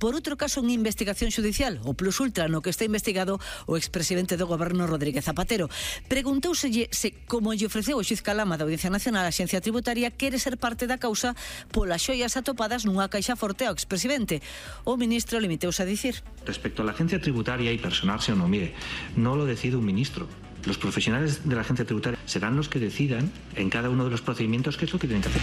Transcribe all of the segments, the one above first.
por outro caso en investigación judicial, o Plus Ultra, no que está investigado o expresidente do goberno Rodríguez Zapatero. Preguntouselle se, como lle ofreceu o xuiz Calama da Audiencia Nacional, a Axencia Tributaria quere ser parte da causa polas xoias atopadas nunha caixa forte ao expresidente. O ministro limiteuse a dicir: respecto a la Agencia Tributaria y personarse o no, mire, no lo decide un ministro. Los profesionales de la Agencia Tributaria serán los que decidan en cada uno de los procedimientos qué es lo que tienen que hacer.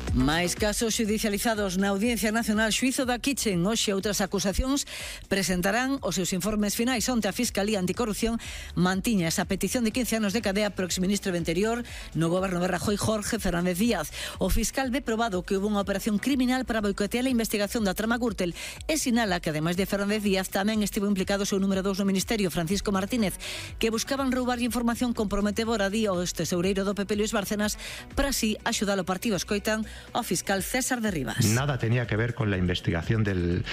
Máis casos judicializados na Audiencia Nacional. Xuízo da Kitchen. Hoxe outras acusacións presentarán os seus informes finais. Onte a Fiscalía Anticorrupción mantiña esa petición de 15 anos de cadea pro exministro do Interior no goberno de Rajoy, Jorge Fernández Díaz. O fiscal ve probado que houve unha operación criminal para boicotear a investigación da trama Gürtel e sinala que, ademais de Fernández Díaz, tamén estivo implicado o seu número 2 no Ministerio, Francisco Martínez, que buscaban roubarlle información comprometedora di ao tesoureiro do PP, Luis Bárcenas, para así axudar o partido. Escoitan o fiscal César de Rivas. Nada tenía que ver con la investigación del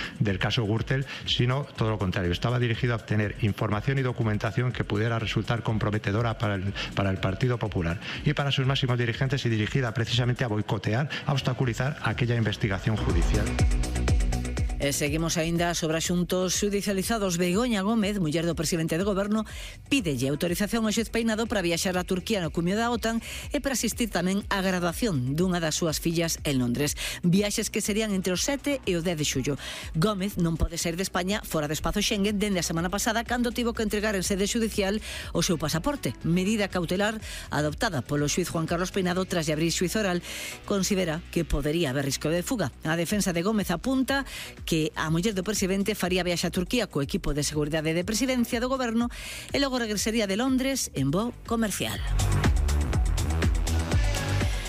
caso Gürtel, sino todo lo contrario. Estaba dirigido a obtener información y documentación que pudiera resultar comprometedora para el Partido Popular y para sus máximos dirigentes, y dirigida precisamente a boicotear, a obstaculizar aquella investigación judicial. E seguimos aínda sobre asuntos judicializados. Begoña Gómez, muller do presidente do goberno, pídelle autorización ao xuez Peinado para viaxar a Turquía no cumio da OTAN e para asistir tamén á graduación dunha das súas fillas en Londres. Viaxes que serían entre o 7 e o 10 de xullo. Gómez non pode sair de España fora do espazo Schengen dende a semana pasada, cando tivo que entregar en sede judicial o seu pasaporte, medida cautelar adoptada polo xuiz Juan Carlos Peinado tras de abrir xuizo oral. Considera que podería haber risco de fuga. A defensa de Gómez apunta que a muller do presidente faría viaxe a Turquía co equipo de seguridade de presidencia do goberno e logo regresaría de Londres en voo comercial.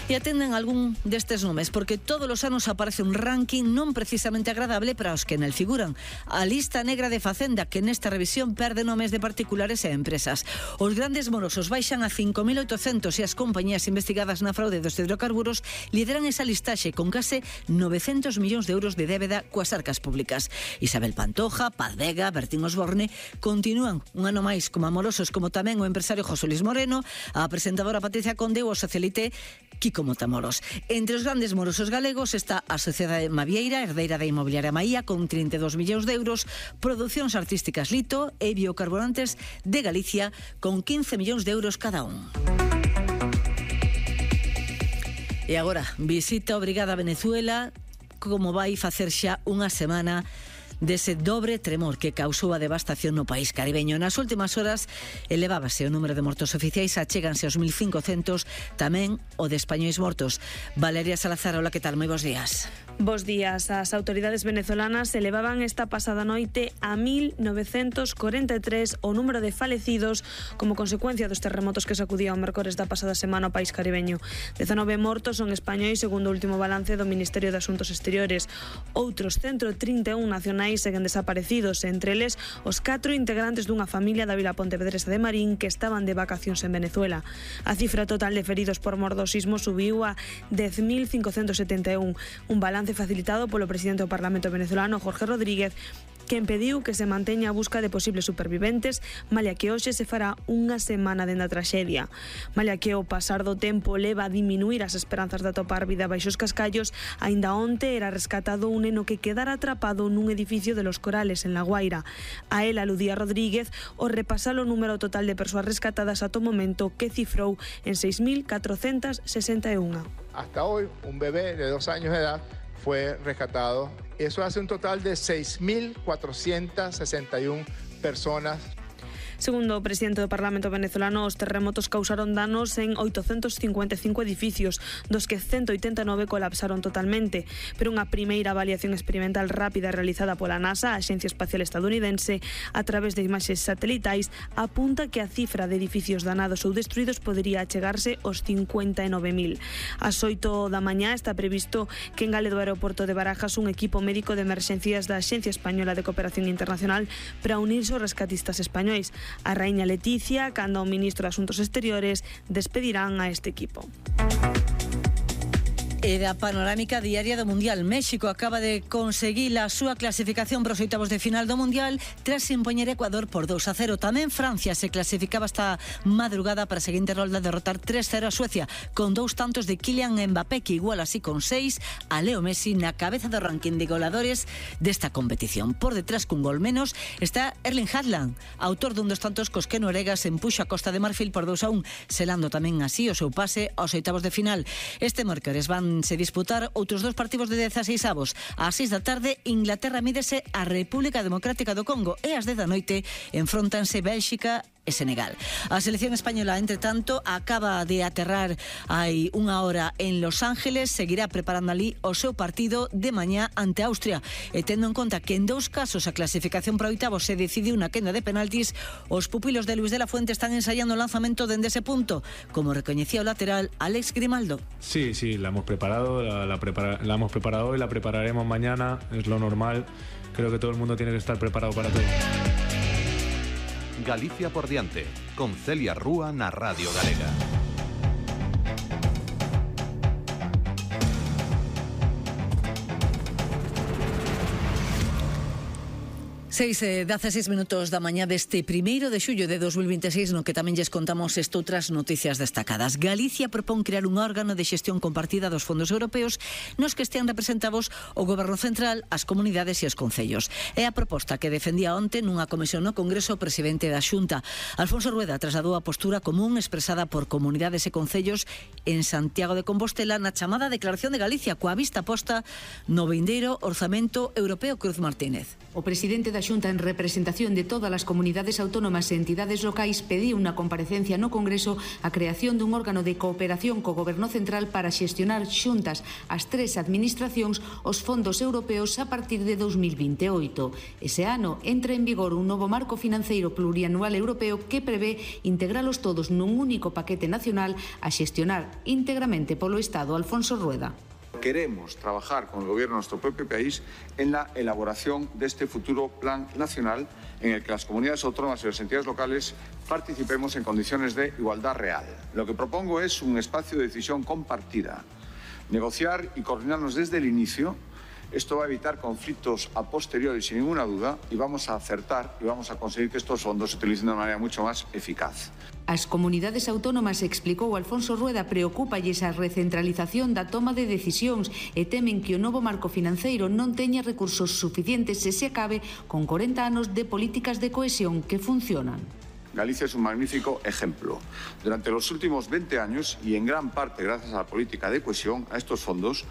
E atenden algún destes nomes, porque todos os anos aparece un ranking non precisamente agradable para os que nel figuran. A lista negra de Facenda, que nesta revisión perde nomes de particulares e empresas. Os grandes morosos baixan a 5.800 e as compañías investigadas na fraude dos hidrocarburos lideran esa listaxe con case 900 millóns de euros de débeda coas arcas públicas. Isabel Pantoja, Paz Vega, Bertín Osborne continúan un ano máis como amorosos, como tamén o empresario José Luis Moreno, a presentadora Patricia Conde ou o socialite Kiko Matamoros. Entre os grandes morosos galegos está a Sociedade Mavieira, herdeira da inmobiliaria Maía, con 32 millóns de euros, Producións Artísticas Lito e Biocarburantes de Galicia, con 15 millóns de euros cada un. E agora, visita obrigada a Venezuela, como vai facer xa unha semana dese dobre tremor que causou a devastación no país caribeño. Nas últimas horas elevábase o número de mortos oficiais, achéganse aos 1.500, tamén o de españois mortos. Valeria Salazar, hola, que tal? Moi bons días. Bos días. As autoridades venezolanas elevaban esta pasada noite a 1.943 o número de falecidos como consecuencia dos terremotos que sacudían o mércores da pasada semana o país caribeño. 19 mortos son españois, segundo o último balance do Ministerio de Asuntos Exteriores. Outros 131 nacionais seguen desaparecidos, entre eles os 4 integrantes dunha familia da vila pontevedresa de Marín que estaban de vacacións en Venezuela. A cifra total de feridos por mor do sismo subiu a 10.571, un balance facilitado polo presidente do Parlamento venezolano, Jorge Rodríguez, que impediu que se manteña a busca de posibles superviventes, malia que hoxe se fará unha semana dende a traxedia. Malia que o pasar do tempo leva a diminuir as esperanzas de atopar vida baixo os cascallos, aínda onte era rescatado un neno que quedara atrapado nun edificio de Los Corales, en La Guaira. A él aludía Rodríguez ao repasar o número total de persoas rescatadas ata o momento, que cifrou en 6.461. Hasta hoy, un bebé de 2 años de edad fue rescatado. Eso hace un total de 6.461 personas. Segundo o presidente do Parlamento venezolano, os terremotos causaron danos en 855 edificios, dos que 189 colapsaron totalmente. Pero unha primeira avaliación experimental rápida realizada pola NASA, a Axencia Espacial Estadounidense, a través de imaxes satelitais, apunta que a cifra de edificios danados ou destruídos podería achegarse aos 59.000. Ás 8 da mañá está previsto que engale do aeroporto de Barajas un equipo médico de emerxencias da Axencia Española de Cooperación Internacional para unirse aos rescatistas españois. A raíña Leticia, cando o ministro de Asuntos Exteriores, despedirán a este equipo. E da panorámica diaria do Mundial, México acaba de conseguir a súa clasificación para os oitavos de final do Mundial tras impoñer Ecuador por 2-0. Tamén Francia se clasificaba esta madrugada para a seguinte rolda derrotar 3-0 a Suecia, con 2 tantos de Kylian Mbappé, que igual así con 6 a Leo Messi na cabeza do ranking de goleadores desta competición. Por detrás, cun gol menos, está Erling Haaland, autor dun dos tantos cos que Noruega se empuxa a Costa de Marfil por 2-1, selando tamén así o seu pase aos oitavos de final. Este mércores van se disputar outros 2 partidos de 16avos. Ás 6 da tarde, Inglaterra mídese a República Democrática do Congo e ás 10 da noite enfróntanse Bélxica e Senegal. A selección española, entre tanto, acaba de aterrar hai unha hora en Los Ángeles, seguirá preparando ali o seu partido de mañá ante Austria. E tendo en conta que en 2 casos a clasificación para oitavos se decidiu na quenda de penaltis, os pupilos de Luis de la Fuente están ensayando o lanzamento dende ese punto, como recoñecía o lateral Alex Grimaldo. Sí, la hemos preparado, la hemos preparado y la prepararemos mañana, es lo normal. Creo que todo el mundo tiene que estar preparado para todo. Galicia por diante, con Celia Rúa na Radio Galega. 16 minutos da mañá deste 1º de xullo de 2026, no que tamén lles contamos outras noticias destacadas. Galicia propón crear un órgano de xestión compartida dos fondos europeos nos que estean representados o Goberno Central, as comunidades e os concellos. É a proposta que defendía onte nunha comisión no Congreso o presidente da Xunta. Alfonso Rueda trasladou a postura común expresada por comunidades e concellos en Santiago de Compostela na chamada Declaración de Galicia, coa vista posta no vindeiro Orzamento Europeo. Cruz Martínez. O presidente da Xunta, en representación de todas as comunidades autónomas e entidades locais, pediu unha comparecencia no Congreso a creación dun órgano de cooperación co Goberno Central para xestionar xuntas as 3 administracións os fondos europeos a partir de 2028. Ese ano entra en vigor un novo marco financeiro plurianual europeo que prevé integralos todos nun único paquete nacional a xestionar íntegramente polo Estado. Alfonso Rueda. Queremos trabajar con el gobierno de nuestro propio país en la elaboración de este futuro plan nacional en el que las comunidades autónomas y las entidades locales participemos en condiciones de igualdad real. Lo que propongo es un espacio de decisión compartida, negociar y coordinarnos desde el inicio. Esto va a evitar conflictos a posteriori sin ninguna duda y vamos a acertar y vamos a conseguir que estos fondos se utilicen de una manera mucho más eficaz. As comunidades autónomas, explicou Alfonso Rueda, preocúpalles a recentralización da toma de decisións e temen que o novo marco financeiro non teña recursos suficientes se se acabe con 40 anos de políticas de cohesión que funcionan. Galicia es un magnífico ejemplo. Durante los últimos 20 años, y en gran parte gracias a la política de cohesión, a estos fondos,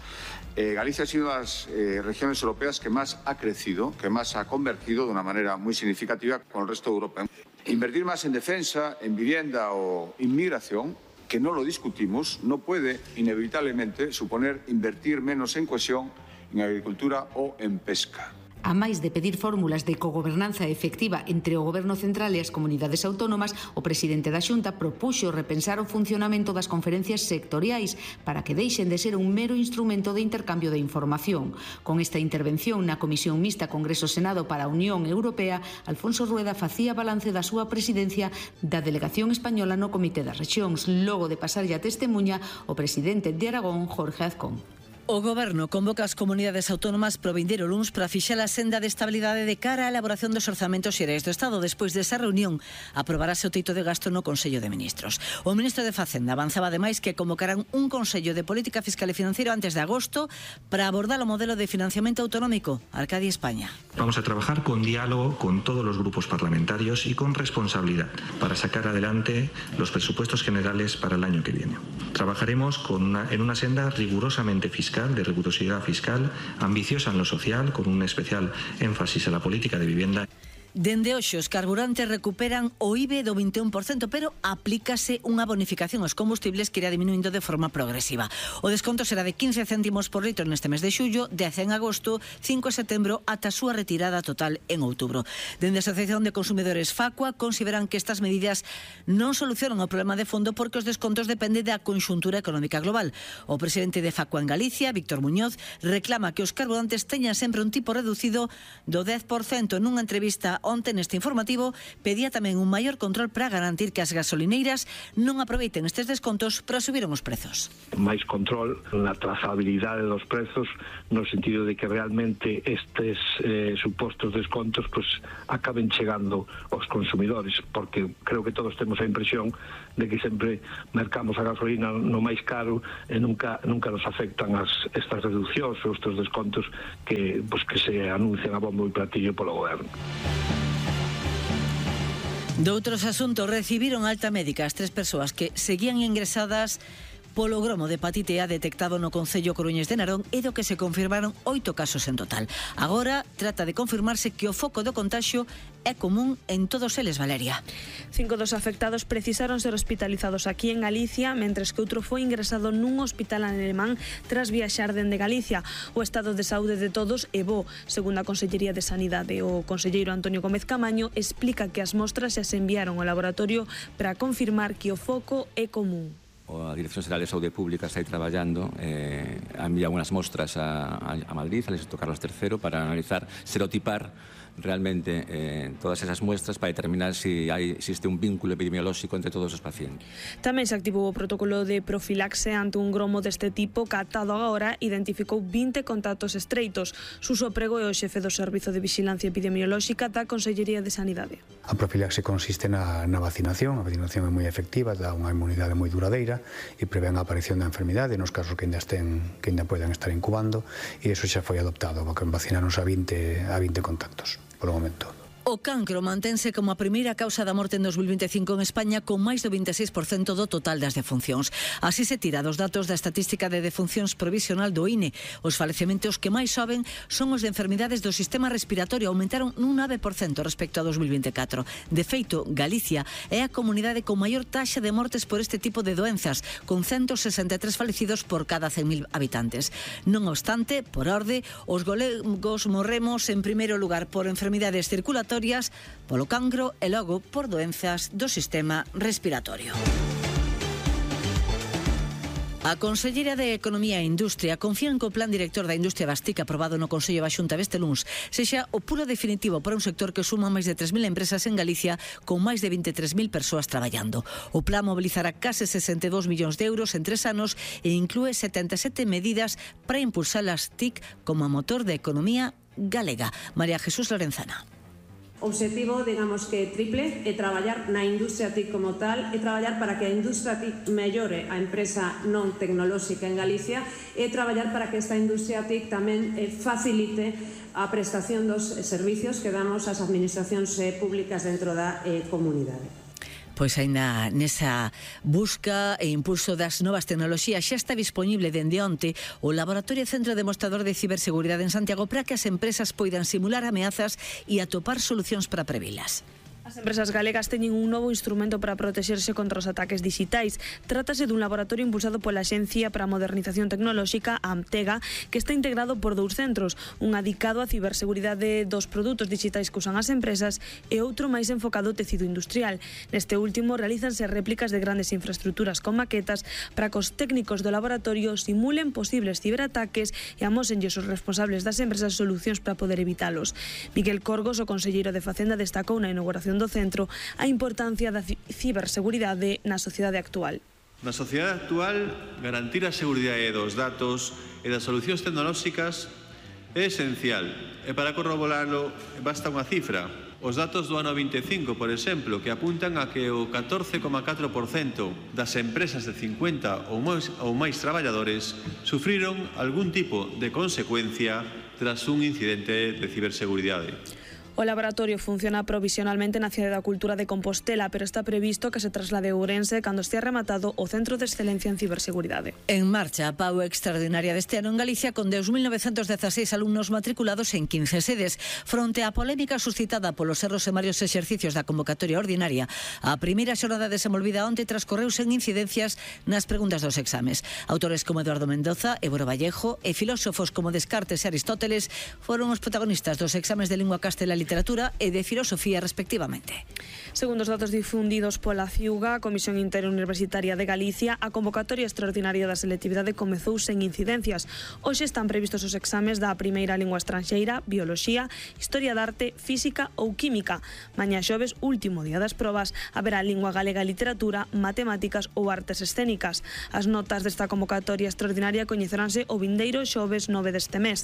Galicia ha sido una de las regiones europeas que más ha crecido, que más ha convergido de una manera muy significativa con el resto de Europa. Invertir más en defensa, en vivienda o inmigración, que no lo discutimos, no puede inevitablemente suponer invertir menos en cohesión, en agricultura o en pesca. A máis de pedir fórmulas de cogobernanza efectiva entre o Goberno Central e as comunidades autónomas, o presidente da Xunta propuxo repensar o funcionamento das conferencias sectoriais para que deixen de ser un mero instrumento de intercambio de información. Con esta intervención na Comisión Mixta Congreso-Senado para a Unión Europea, Alfonso Rueda facía balance da súa presidencia da delegación española no Comité das Rexións, logo de pasarlle a testemunha o presidente de Aragón, Jorge Azcón. O Goberno convoca as comunidades autónomas pro vindeiro luns para fixar a senda de estabilidade de cara á elaboración dos orzamentos xerais do Estado. Despois desa reunión, aprobarase o teito de gasto no Consello de Ministros. O ministro de Facenda avanzaba ademais que convocarán un Consello de Política Fiscal e Financiero antes de agosto para abordar o modelo de financiamento autonómico. Arcadia, España. Vamos a trabajar con diálogo con todos los grupos parlamentarios y con responsabilidad para sacar adelante los presupuestos generales para el año que viene. Trabajaremos en una senda rigurosamente fiscal, de rigurosidad fiscal, ambiciosa en lo social, con un especial énfasis en la política de vivienda. Dende hoxe os carburantes recuperan o IBE do 21%, pero aplícase unha bonificación aos combustibles que irá diminuindo de forma progresiva. O desconto será de 15 céntimos por litro neste mes de xullo, 10 en agosto, 5 en setembro, ata a súa retirada total en outubro. Dende a Asociación de Consumidores Facua consideran que estas medidas non solucionan o problema de fondo porque os descontos dependen da conxuntura económica global. O presidente de Facua en Galicia, Víctor Muñoz, reclama que os carburantes teñan sempre un tipo reducido do 10%. Nunha entrevista onte neste informativo pedía tamén un maior control para garantir que as gasolineiras non aproveiten estes descontos para subir os prezos. Máis control na trazabilidade dos prezos, no sentido de que realmente estes supostos descontos acaben chegando aos consumidores, porque creo que todos temos a impresión de que sempre mercamos a gasolina no máis caro e nunca nos afectan estas reduccións ou estes descontos que se anuncian a bombo e platillo polo goberno. Doutros asuntos, recibiron alta médica as 3 persoas que seguían ingresadas polo gromo de hepatite A detectado no concello coruñés de Narón e do que se confirmaron 8 casos en total. Agora trata de confirmarse que o foco do contaxio é común en todos eles, Valeria. 5 dos afectados precisaron ser hospitalizados aquí en Galicia, mentres que outro foi ingresado nun hospital alemán tras viaxar dende Galicia. O estado de saúde de todos é bo, segundo a Consellería de Sanidade. O conselleiro Antonio Gómez Camaño explica que as mostras xa se enviaron ao laboratorio para confirmar que o foco é común. A Dirección Xeral de Saúde Pública está aí traballando, ha enviado unhas mostras a Madrid, al Instituto Carlos III, para analizar, serotipar realmente todas esas muestras para determinar si existe un vínculo epidemiolóxico entre todos os pacientes. Tamén se activou o protocolo de profilaxe ante un gromo deste tipo catado agora, identificou 20 contactos estreitos. Suso Prego é o xefe do Servizo de Vigilancia Epidemiolóxica da Consellería de Sanidade. A profilaxe consiste na vacinación. A vacinación é moi efectiva, dá unha inmunidade moi duradeira e prevén a aparición da enfermidade nos casos que ainda poden estar incubando, e iso xa foi adoptado, porque vacinaronse a 20 contactos por o momento. O cancro mantense como a primeira causa da morte en 2025 en España, con máis do 26% do total das defuncións. Así se tira dos datos da estatística de defuncións provisional do INE. Os falecementos que máis soben son os de enfermidades do sistema respiratorio, aumentaron nun 9% respecto a 2024. De feito, Galicia é a comunidade con maior taxa de mortes por este tipo de doenzas, con 163 falecidos por cada 100.000 habitantes. Non obstante, por orde, os galegos morremos en primeiro lugar por enfermidades circulatorias, polo cancro e logo por doenzas do sistema respiratorio. A Conselleira de Economía e Industria confía en que o Plan Director da Industria Bastica aprobado no Consello da Xunta este luns sexa o puro definitivo para un sector que suma máis de 3.000 empresas en Galicia, con máis de 23.000 persoas traballando. O plan mobilizará case 62 millóns de euros en 3 anos e inclúe 77 medidas para impulsar as TIC como motor da economía galega. María Jesús Lorenzana. O obxectivo, digamos que triple, é traballar na industria TIC como tal, é traballar para que a industria TIC mellore a empresa non tecnolóxica en Galicia, e traballar para que esta industria TIC tamén facilite a prestación dos servicios que damos ás administracións públicas dentro da comunidade. Pois aínda nesa busca e impulso das novas tecnoloxías xa está disponible dende onte o Laboratorio Centro Demostrador de Ciberseguridade en Santiago para que as empresas poidan simular ameazas e atopar solucións para previlas. As empresas galegas teñen un novo instrumento para protexerse contra os ataques digitais. Trátase dun laboratorio impulsado pola Axencia para a Modernización Tecnolóxica, a AMTEGA, que está integrado por 2 centros, un dedicado á ciberseguridade dos produtos digitais que usan as empresas e outro máis enfocado ao tecido industrial. Neste último realízanse réplicas de grandes infraestructuras con maquetas para que os técnicos do laboratorio simulen posibles ciberataques e amósenlles os responsables das empresas solucións para poder evitalos. Miguel Corgos, o conselleiro de Facenda, destacou na inauguración do centro a importancia da ciberseguridade na sociedade actual. Na sociedade actual, garantir a seguridade dos datos e das solucións tecnolóxicas é esencial, e para corroboralo basta unha cifra. Os datos do ano 25, por exemplo, que apuntan a que o 14,4% das empresas de 50 ou máis traballadores sufriron algún tipo de consecuencia tras un incidente de ciberseguridade. O laboratorio funciona provisionalmente na Cidade da Cultura de Compostela, pero está previsto que se traslade a Ourense cando estea rematado o Centro de Excelencia en Ciberseguridade. En marcha a PAU extraordinaria deste ano en Galicia, con 2.916 alumnos matriculados en 15 sedes. Fronte á polémica suscitada polos erros en varios exercicios da convocatoria ordinaria, a primeira xornada desenvolvida onte transcorreu sen incidencias nas preguntas dos exames. Autores como Eduardo Mendoza, Évora Vallejo e filósofos como Descartes e Aristóteles foron os protagonistas dos exames de lingua castellá, Literatura e de Filosofía, respectivamente. Segundo os datos difundidos pola CIUGA, a Comisión Interuniversitaria de Galicia, a convocatoria extraordinaria da selectividade comezou sen incidencias. Hoxe están previstos os exames da primeira lingua estranxeira, Bioloxía, Historia da Arte, Física ou Química. Mañá xoves, último día das probas, haberá Lingua Galega e Literatura, Matemáticas ou Artes Escénicas. As notas desta convocatoria extraordinaria coñeceránse o vindeiro xoves 9 deste mes.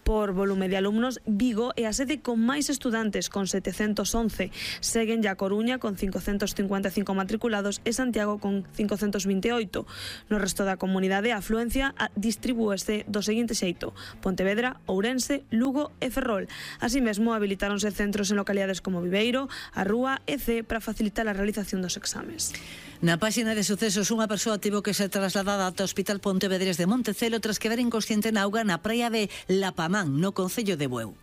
Por volume de alumnos, Vigo é a sede con máis estudantes, con 711. Seguen a Coruña con 555 matriculados e Santiago con 528. No resto da comunidade, a afluencia distribúese do seguinte xeito: Pontevedra, Ourense, Lugo e Ferrol. Así mesmo, habilitáronse centros en localidades como Viveiro, A Rúa e C para facilitar a realización dos exames. Na páxina de sucesos, unha persoa tivo que ser trasladada ata o Hospital Pontevedrés de Montecelo tras quedar inconsciente na auga na praia de Lapamán, no concello de Bueu.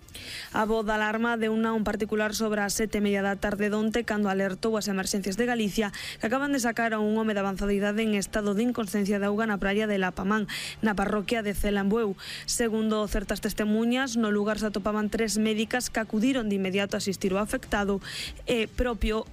A voz de alarma deu un particular sobre as 7:30 da tarde donte cando alertou as emerxencias de Galicia que acaban de sacar a un home de avanzada idade en estado de inconsciencia de auga na praia de Lapamán, na parroquia de Cela en Bueu. Segundo certas testemunhas, no lugar se atopaban 3 médicas que acudiron de inmediato a asistir ao afectado e o propio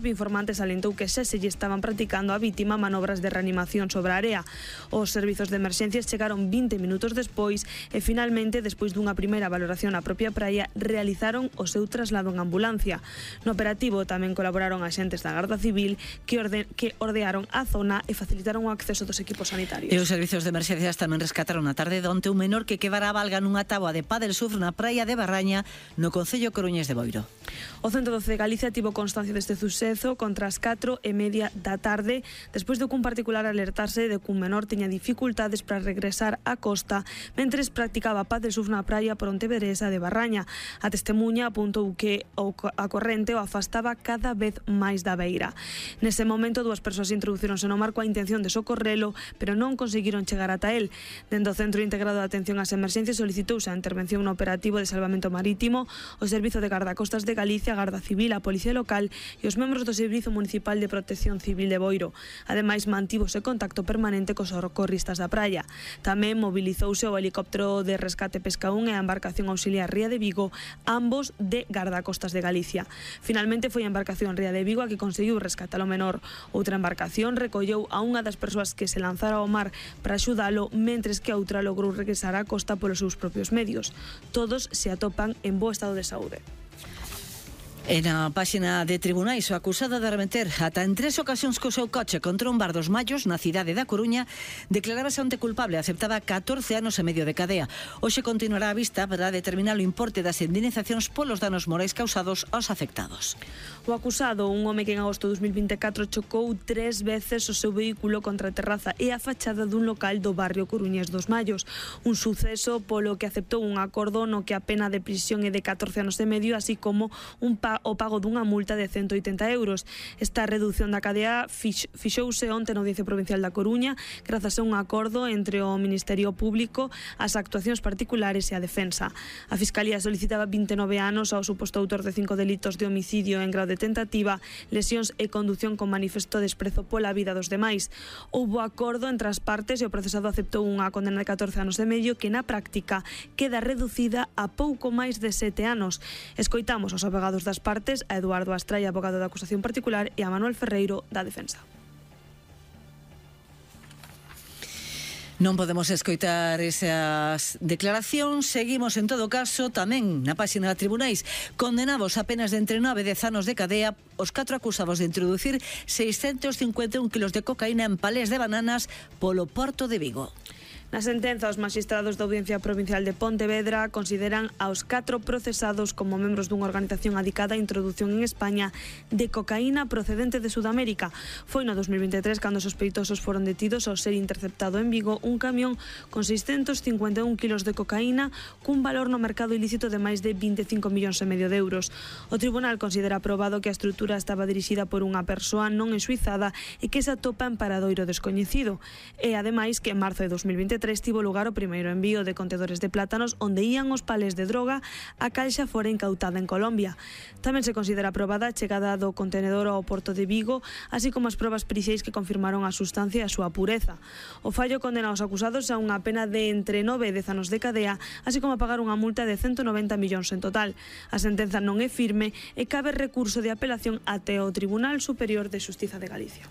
informante salientou que xa se lle estaban practicando a vítima manobras de reanimación sobre a area. Os servizos de emerxencias chegaron 20 minutos despois e finalmente, despois dunha primeira valoración a propia praia, realizaron o seu traslado en ambulancia. No operativo tamén colaboraron axentes da Garda Civil que ordearon a zona e facilitaron o acceso dos equipos sanitarios. E os servizos de emerxencias tamén rescataron a tarde donte un menor que quedara a valga nunha táboa de pádel surf na praia de Barraña, no concello coruñés de Boiro. O 112 de Galicia tivo constancia deste suceso contra as 4:30 da tarde, despois de que un particular alertarse de que un menor tiña dificultades para regresar á costa mentres practicaba pádel surf na praia pontevedresa de Barraña. A testemuña apuntou que a corrente o afastaba cada vez máis da beira. Nese momento, 2 persoas introducíronse no mar coa intención de socorrelo, pero non conseguiron chegar ata el. Dende o Centro Integrado de Atención ás Emerxencias solicitouse a intervención no operativo de salvamento marítimo, o Servizo de Gardacostas de Galicia, a Garda Civil, a Policía Local e os membros do Servizo Municipal de Protección Civil de Boiro. Ademais, mantívose contacto permanente cos socorristas da praia. Tamén mobilizouse o helicóptero de rescate Pesca 1 e a embarcación auxiliar Ría de Vigo, ambos de Gardacostas de Galicia. Finalmente foi a embarcación Ría de Vigo a que conseguiu rescatar o menor. Outra embarcación recolleu a unha das persoas que se lanzara ao mar para axudalo, mentres que a outra logrou regresar á costa polos seus propios medios. Todos se atopan en bo estado de saúde. E na páxina de tribunais, o acusado de arremeter ata en 3 ocasións co seu coche contra un bar dos Mallos na cidade da Coruña declarábase onte culpable, aceptaba 14 anos e medio de cadea. Hoxe continuará a vista para determinar o importe das indemnizacións polos danos morais causados aos afectados. O acusado, un home que en agosto de 2024 chocou 3 veces o seu vehículo contra a terraza e a fachada dun local do barrio coruñés dos Mallos. Un suceso polo que aceptou un acordo no que a pena de prisión é de 14 anos e medio, así como o pago dunha multa de 180 euros. Esta reducción da cadea fixouse onte na Audiencia Provincial da Coruña grazas a un acordo entre o Ministerio Público, as actuacións particulares e a defensa. A Fiscalía solicitaba 29 anos ao suposto autor de 5 delitos de homicidio en grau de tentativa, lesións e condución con manifesto desprezo pola vida dos demais. Houbo acordo entre as partes e o procesado aceptou unha condena de 14 anos e medio que na práctica queda reducida a pouco máis de 7 anos. Escoitamos aos abogados das partes, a Eduardo Astraia, abogado da acusación particular, e a Manuel Ferreiro, da defensa. Non podemos escoitar esas declaracións. Seguimos, en todo caso, tamén na páxina de tribunais. Condenados a penas de entre 9 e 10 anos de cadea os 4 acusados de introducir 651 kilos de cocaína en palés de bananas polo porto de Vigo. Na sentenza, os magistrados da Audiencia Provincial de Pontevedra consideran aos 4 procesados como membros dunha organización adicada á introdución en España de cocaína procedente de Sudamérica. Foi no 2023 cando os sospeitosos foron detidos ao ser interceptado en Vigo un camión con 651 kilos de cocaína cun valor no mercado ilícito de máis de 25 millóns e medio de euros. O tribunal considera aprobado que a estrutura estaba dirixida por unha persoa non ensuizada e que se atopa en paradoiro descoñecido. E, ademais, que en marzo de 2023 2023 tivo lugar o primeiro envío de contedores de plátanos onde ían os palés de droga a cal xa fora incautada en Colombia. Tamén se considera aprobada a chegada do contenedor ao porto de Vigo, así como as probas periciais que confirmaron a sustancia e a súa pureza. O fallo condena aos acusados a unha pena de entre 9 e 10 anos de cadea, así como a pagar unha multa de 190 millóns en total. A sentenza non é firme e cabe recurso de apelación até o Tribunal Superior de Xustiza de Galicia.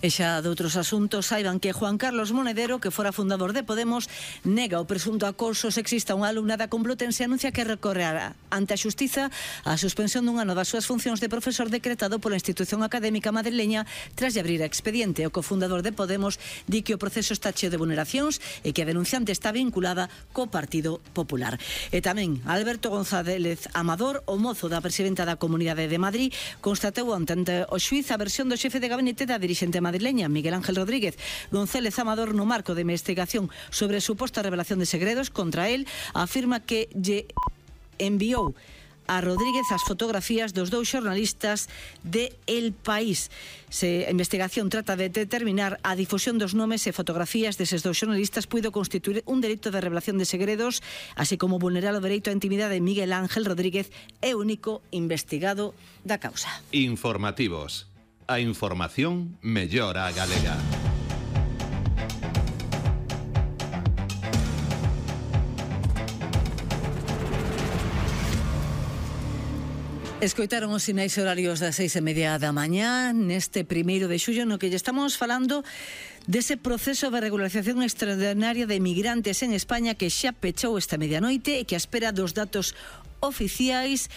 E xa de outros asuntos, saiban que Juan Carlos Monedero, que fora fundador de Podemos, nega o presunto acoso sexista a unha alumna da Complutense e anuncia que recorrerá ante a Xustiza a suspensión dun ano das súas funcións de profesor decretado pola institución académica madrileña tras de abrir a expediente. O cofundador de Podemos di que o proceso está cheo de vulneracións e que a denunciante está vinculada co Partido Popular. E tamén Alberto González Amador, o mozo da presidenta da Comunidade de Madrid, constatou ante o xuíz a versión do xefe de gabinete da dirixente madrileña, Miguel Ángel Rodríguez. González Amador, no marco de investigación sobre suposta revelación de segredos contra él, afirma que lle enviou a Rodríguez as fotografías dos dous xornalistas de El País. A investigación trata de determinar a difusión dos nomes e fotografías deses dous xornalistas puido constituir un delito de revelación de segredos, así como vulnerar o dereito á intimidade de Miguel Ángel Rodríguez, é o único investigado da causa. Informativos. A información mellora a galega. Escoitaron os sinais horarios das 6:30 da mañá neste 1 de xullo, no que lle estamos falando dese proceso de regularización extraordinaria de migrantes en España que xa pechou esta medianoite e que a espera dos datos oficiais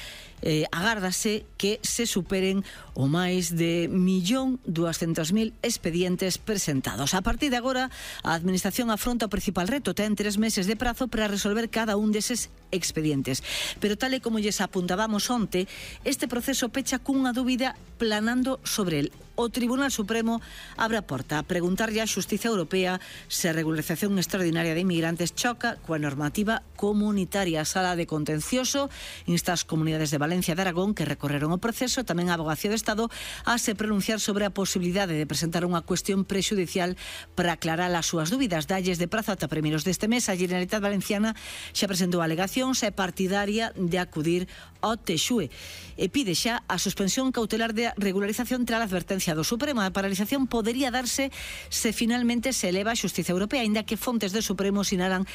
agárdase que se superen o máis de 1.200.000 expedientes presentados. A partir de agora, a Administración afronta o principal reto. Ten 3 meses de prazo para resolver cada un deses expedientes. Pero tal e como lles apuntábamos onte, este proceso pecha cunha dúbida planando sobre el. O Tribunal Supremo abre a porta a preguntarlle á Xustiza Europea se a regularización extraordinaria de inmigrantes choca coa normativa comunitaria. A Sala de Contencioso insta as comunidades de Valencia e de Aragón que recorreron o proceso, tamén a Abogacía do Estado, a se pronunciar sobre a posibilidade de presentar unha cuestión prexudicial para aclarar as súas dúbidas. Dalles de prazo ata primeiros deste mes. A Generalitat Valenciana xa presentou alegacións e partidaria de acudir ao TXUE e pide xa a suspensión cautelar de regularización tras a advertencia do Supremo. A paralización podería darse se finalmente se eleva a Xustiza Europea, aínda que fontes do Supremo sinalan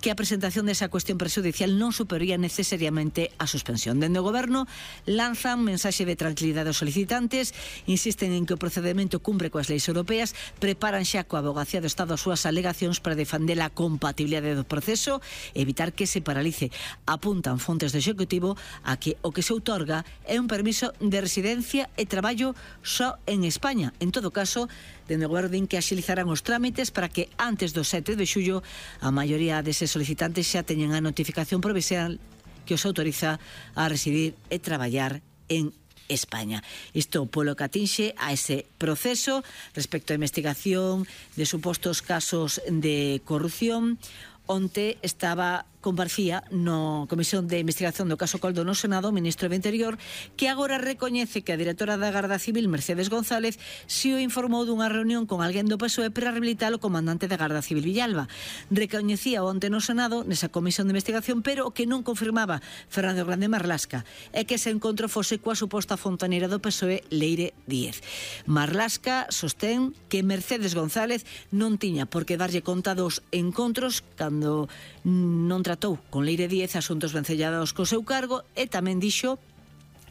que a presentación desa cuestión prexudicial non supería necesariamente a suspensión. Dende o Goberno lanzan mensaxe de tranquilidade aos solicitantes, insisten en que o procedimento cumpre coas leis europeas, preparan xa coa Abogacía do Estado as súas alegacións para defender a compatibilidade do proceso e evitar que se paralice. Apuntan fontes do Executivo a que o que se outorga é un permiso de residencia e traballo só en España. En todo caso, dende o Goberno din que axilizarán os trámites para que antes do 7 de xullo a maioría deses solicitantes xa teñen a notificación provisional que os autoriza a residir e traballar en España. Isto polo que atinxe a ese proceso respecto á investigación de supostos casos de corrupción. Onte comparecía no Comisión de Investigación do caso Coldo no Senado o ministro do Interior, que agora recoñece que a directora da Garda Civil, Mercedes González, si o informou dunha reunión con alguén do PSOE para rehabilitar o comandante da Garda Civil Villalba. Recoñecía onte no Senado nesa Comisión de Investigación, pero o que non confirmaba Fernando Grande Marlasca é que ese encontro fose coa suposta fontaneira do PSOE, Leire Díez. Marlasca sostén que Mercedes González non tiña por que darlle conta dos encontros cando non tratou con Leire Díez asuntos vencellados co seu cargo, e tamén dixo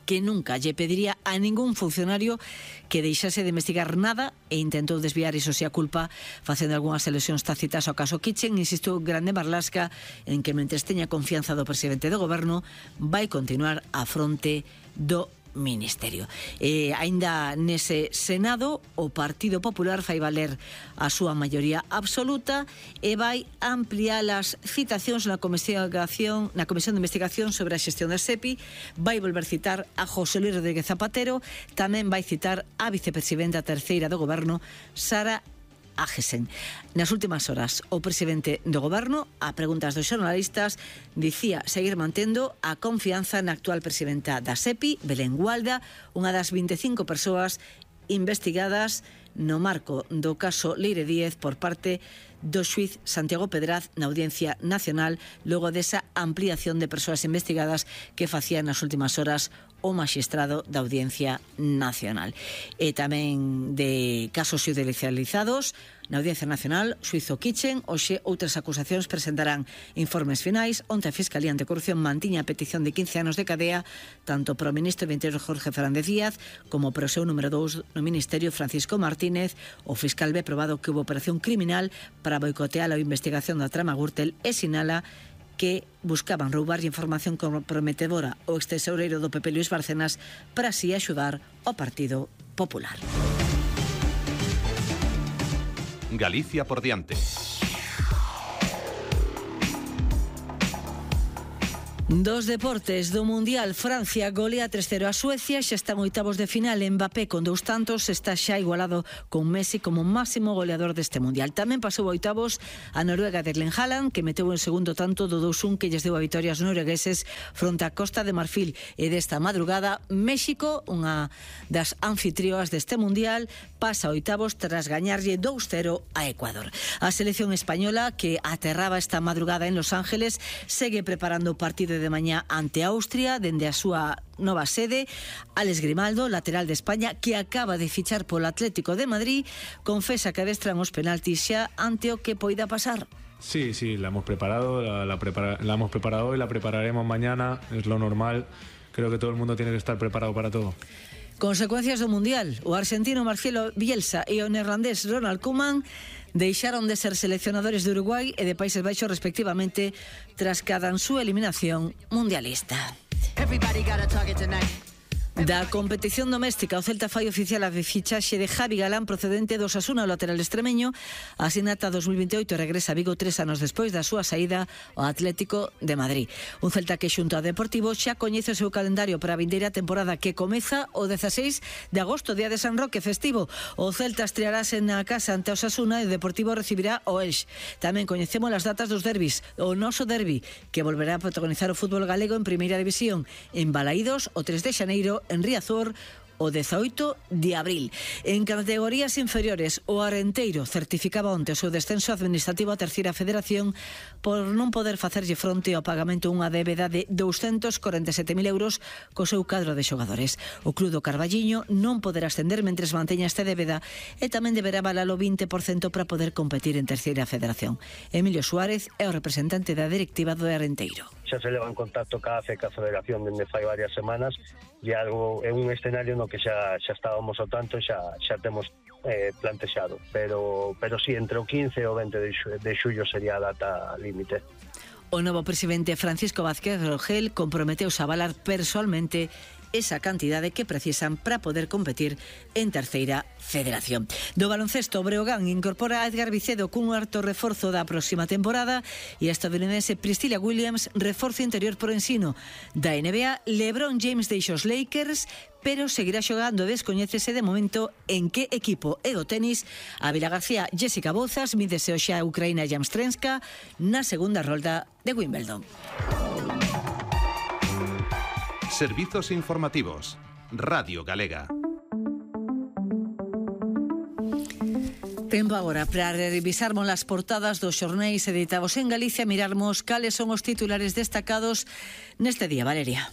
que nunca lle pediría a ningún funcionario que deixase de investigar nada e intentou desviar iso se a culpa facendo algunhas alusións tácitas ao caso Kitchen. Insistiu Grande Marlasca en que mentres teña confianza do presidente do Goberno vai continuar á fronte do Ministerio. E aínda nese Senado o Partido Popular fai valer a súa maioría absoluta e vai ampliar as citacións na Comisión de Investigación sobre a xestión da SEPI. Vai volver citar a José Luis Rodríguez Zapatero, tamén vai citar a vicepresidenta terceira do Goberno, Sara Ágesen. Nas últimas horas, o presidente do Goberno, a preguntas dos xornalistas, dicía seguir mantendo a confianza na actual presidenta da SEPI, Belén Gualda, unha das 25 persoas investigadas no marco do caso Leire Díez por parte do xuiz Santiago Pedraz na Audiencia Nacional logo desa ampliación de persoas investigadas que facía nas últimas horas o magistrado da Audiencia Nacional. E tamén de casos judicializados na Audiencia Nacional, xuizo Kitchen, hoxe outras acusacións presentarán informes finais. Onte a Fiscalía Anticorrupción mantiña a petición de 15 anos de cadea tanto para o ministro do Interior Jorge Fernández Díaz como para o seu número 2 no Ministerio Francisco Martínez. O fiscal ve probado que houve operación criminal para boicotear a investigación da trama Gürtel e sinala que buscaban roubar información comprometedora ao extesoureiro do PP Luis Bárcenas para así axudar ao Partido Popular. Galicia por diante. Dos deportes do Mundial, Francia golea 3-0 a Suecia, xa están oitavos de final. Mbappé con 2 tantos está xa igualado con Messi como máximo goleador deste Mundial. Tamén pasou oitavos a Noruega de Erling Haaland, que meteu en segundo tanto do 2-1 que lles deu a vitória aos noruegueses fronte a Costa de Marfil. E desta madrugada, México, unha das anfitrioas deste Mundial, pasa oitavos tras gañarlle 2-0 a Ecuador. A selección española, que aterraba esta madrugada en Los Ángeles, segue preparando o partido de mañá ante Austria dende a súa nova sede. Alex Grimaldo, lateral de España, que acaba de fichar polo Atlético de Madrid, confesa que adestran os penaltis xa ante o que poida pasar. Sí, la hemos preparado, la hemos preparado y la prepararemos mañana, es lo normal. Creo que todo el mundo tiene que estar preparado para todo. Consecuencias do Mundial. O argentino Marcelo Bielsa e o neerlandés Ronald Koeman deixaron de ser seleccionadores de Uruguai e de Países Baixos respectivamente tras cada súa eliminación mundialista. Da competición doméstica, o Celta fai oficial a fichaxe de Javi Galán procedente do Osasuna, o lateral extremeño. Asina ata 2028 regresa a Vigo 3 anos despois da súa saída ao Atlético de Madrid. Un Celta que xunto ao Deportivo xa coñece o seu calendario para a vindeira temporada, que comeza o 16 de agosto, día de San Roque festivo. O Celta estrearase na casa ante o Osasuna e o Deportivo recibirá o Elx. Tamén coñecemos as datas dos derbis. O noso derbi, que volverá a protagonizar o fútbol galego en Primeira División, en Balaídos o 3 de xaneiro, en Riazor o 18 de abril. En categorías inferiores, o Arenteiro certificaba onte o seu descenso administrativo a Terceira Federación por non poder facerlle fronte ao pagamento unha débeda de 247.000 euros co seu cadro de xogadores. O Club do Carballiño non poderá ascender mentres manteña esta débeda e tamén deberá valalo 20% para poder competir en Terceira Federación. Emilio Suárez é o representante da directiva do Arenteiro. Xa se leva en contacto ca Federación dende fai varias semanas e algo é un escenario no que xa estábamos ao tanto, xa temos plantexado, pero sí, entre o 15 e o 20 de xullo sería a data límite. O novo presidente Francisco Vázquez Rogel comprometeuse a avalar persoalmente esa cantidade que precisan para poder competir en Terceira Federación. Do baloncesto, o Breogán incorpora a Edgar Vicedo cun harto reforzo da próxima temporada e a estadounidense Priscilla Williams reforzo interior por ensino. Da NBA, LeBron James deixa os Lakers, pero seguirá xogando. Descoñécese de momento en que equipo. E do tenis, a Vila García Jessica Bozas mídese hoxe a Ucraína Jamstrenska na segunda rolda de Wimbledon. Servizos informativos. Radio Galega. Tempo agora para revisarmos as portadas dos xornais editados en Galicia, mirarmos cales son os titulares destacados neste día, Valeria.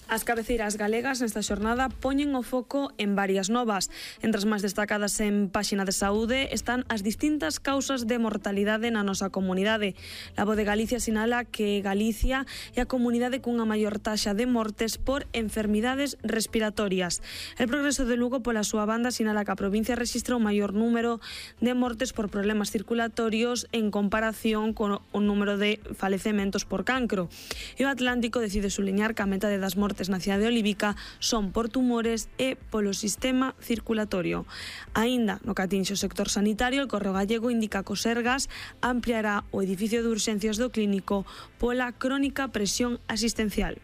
As cabeceiras galegas nesta xornada poñen o foco en varias novas. Entre as máis destacadas en páxina de saúde están as distintas causas de mortalidade na nosa comunidade. La Voz de Galicia sinala que Galicia é a comunidade cunha maior taxa de mortes por enfermidades respiratorias. El Progreso de Lugo, pola súa banda, sinala que a provincia rexistra o maior número de mortes por problemas circulatorios en comparación con o número de falecementos por cancro. E o Atlántico decide suliñar que a metade das mortes na cidade olívica son por tumores e polo sistema circulatorio. Aínda no que atinxe o sector sanitario, el Correo Gallego indica que o Sergas ampliará o edificio de urxencias do clínico pola crónica presión asistencial.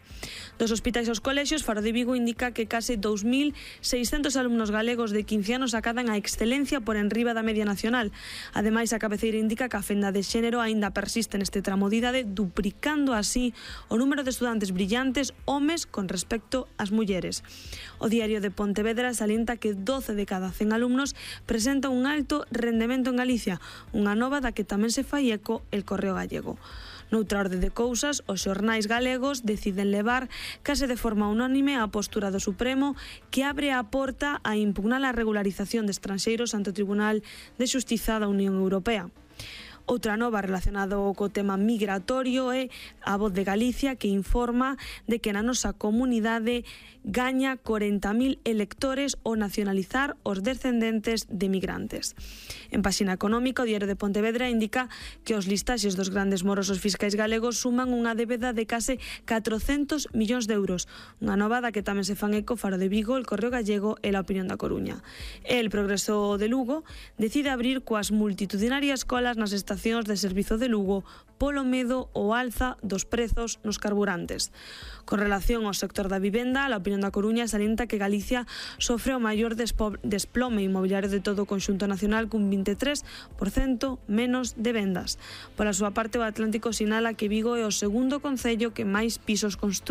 Dos hospitais aos colexios, Faro de Vigo indica que case 2.600 alumnos galegos de 15 anos acadan a excelencia por enriba da media nacional. Ademais, a cabeceira indica que a fenda de xénero aínda persiste neste tramo de idade, duplicando así o número de estudantes brillantes homes con con respecto ás mulleres. O Diario de Pontevedra salienta que 12 de cada 100 alumnos presenta un alto rendemento en Galicia, unha nova da que tamén se fai eco el Correo Gallego. Noutra orde de cousas, os xornais galegos deciden levar case de forma unánime a postura do Supremo que abre a porta a impugnar a regularización de estranxeiros ante o Tribunal de Xustiza da Unión Europea. Outra nova relacionada co tema migratorio é a Voz de Galicia, que informa de que na nosa comunidade gaña 40.000 electores ao nacionalizar os descendentes de migrantes. En páxina económica, o Diario de Pontevedra indica que os listaxes dos grandes morosos fiscais galegos suman unha débeda de case 400 millóns de euros, unha nova da que tamén se fan eco Faro de Vigo, el Correo Gallego e la Opinión da Coruña. El Progreso de Lugo decide abrir coas multitudinarias colas nas estacións de servizo de Lugo polo medo ao alza dos prezos nos carburantes. Con relación ao sector da vivenda, a Opinión da Coruña salienta que Galicia sofre o maior desplome inmobiliario de todo o conxunto nacional, cun 23% menos de vendas. Pola súa parte, o Atlántico sinala que Vigo é o segundo concello que máis pisos construe